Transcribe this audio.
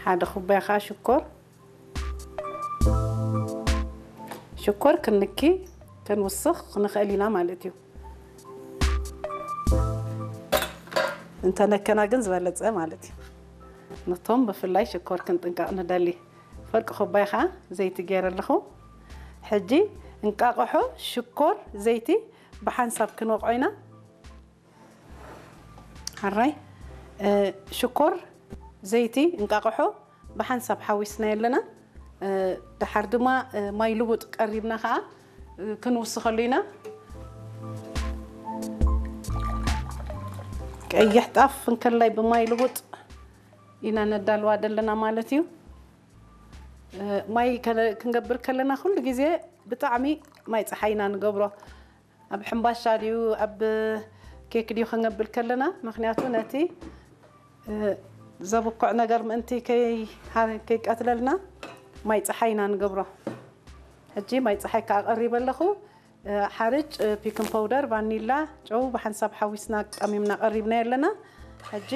ሓደ ኩባያ ከዓ ሽኮር። ሽኮር ክንኪ ክንውስኽ ንኽእል ኢና ማለት እዩ። እንተነከና ግን ዝበለፀ ማለት እዩ። ነቶም ብፍላይ ሽኮር ክንጥንቀቕ ንደሊ። ፍርቂ ኩባያ ከዓ ዘይቲ ገይረ ኣለኹ። ሕጂ እንቃቕሖ፣ ሽኮር፣ ዘይቲ ብሓንሳብ ክንወቕዖ ኢና። ሕራይ ሽኮር፣ ዘይቲ፣ እንቃቕሖ ብሓንሳብ ሓዊስና ኣለና። ድሓር ድማ ማይ ልቡጥ ቀሪብና ከዓ ክንውስኸሉ ኢና። ቀይሕ ጣፍ እንከላይ ብማይ ልቡጥ ኢና ነዳልዋ ዘለና ማለት እዩ። ማይ ክንገብር ከለና ኩሉ ግዜ ብጣዕሚ ማይ ፀሓይ ኢና ንገብሮ። ኣብ ሕምባሻ ድዩ ኣብ ኬክ ድዩ ክንገብር ከለና፣ ምክንያቱ ነቲ ዘብኩዕ ነገር ምእንቲ ከይቀትለልና ማይ ፀሓይ ኢና ንገብሮ። ሕጂ ማይ ፀሓይ ከዓ ቀሪበ ኣለኹ። ሓርጭ፣ ፒክን ፓውደር፣ ቫኒላ፣ ጨው ብሓንሳብ ሓዊስና ቀሚምና ቀሪብና ኣለና። ሕጂ